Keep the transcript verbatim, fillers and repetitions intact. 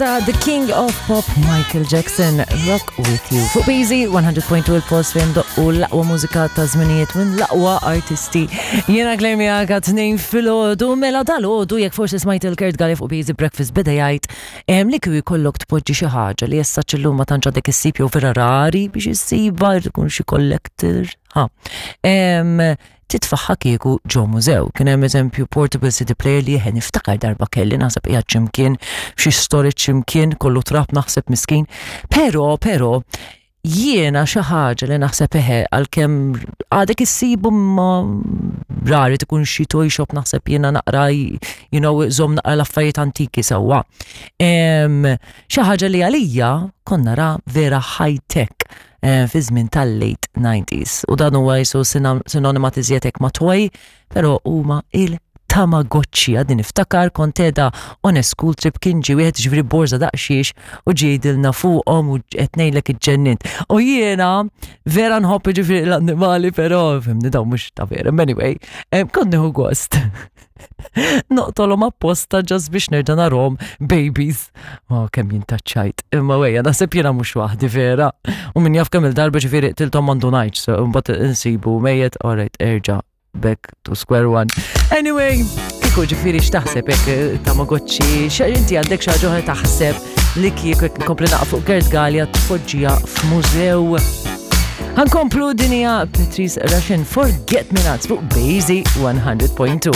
Ta' The King of Pop Michael Jackson, Rock With You. Fuq B Z one hundred point two, il-post fejn doqqu l-aqwa mużika ta' żminijiet minn l-aqwa artisti. Jiena Claire miegħek għat-tnejn filgħodu. Mela dalgħodu, jekk forsi smajt il-Kurt Galli fuq B Z Breakfast beda jgħid em, li kieku jkollok tpoġġi xi ħaġa li issa llum ma tantx għadek issib jew vera rari biex issiba, jrid ikun xi collector. Ha. Em, titfaħħa kieku ġo mużew. Kien hemm eżempju portable C D player li jien niftakar darba kelli, naħseb qiegħed x'imkien, f'xi storage x'imkien, kollu trab naħseb, miskin. Però, però, jiena xi ħaġa li naħseb eħe, għalkemm għadek issibu ma rari, tkun xi toy shop naħseb jiena naqra, you know, żomm naqra l-affarijiet antiki sewwa. Em, Xi ħaġa li għalija konna ra vera high tech eh, fi żmien tal-late nineties. U dan huwa jisu sinonima tiżjetek ma' toy, però huma il-Tamagotchi. Għadni niftakar kont qiegħda on a school trip, kien ġie wieħed, ġifieri borża daqshiex, u ġejdilna fuqhom u qed ngħidlek iġġennint. U jiena vera nħobb ġifieri l-annimali, però fhimni, dawn mhux ta' vera. Anyway, em, kont nieħu gost noqtolhom apposta just biex nerġa' narhom babies. Oh, kemm jintaċċajt. Imma wejja, naħseb jiena mhux waħdi vera. U min jaf kemm il-darba ġifieri qtilthom ma ndunajtx, so mbagħad insibu mejjet, alright, erġa' back to square one. Anyway, kieku ġifieri x'taħseb hekk eh, Tamagotchi, xa inti għandek xi ħaġa oħra taħseb li kieku jekk nkompli naqra fuq Kurt Galea tpoġġiha f'mużew? Ħa nkomplu, din hija Patrice Rushen, Forget Me Nots, fuq B Z one hundred point two.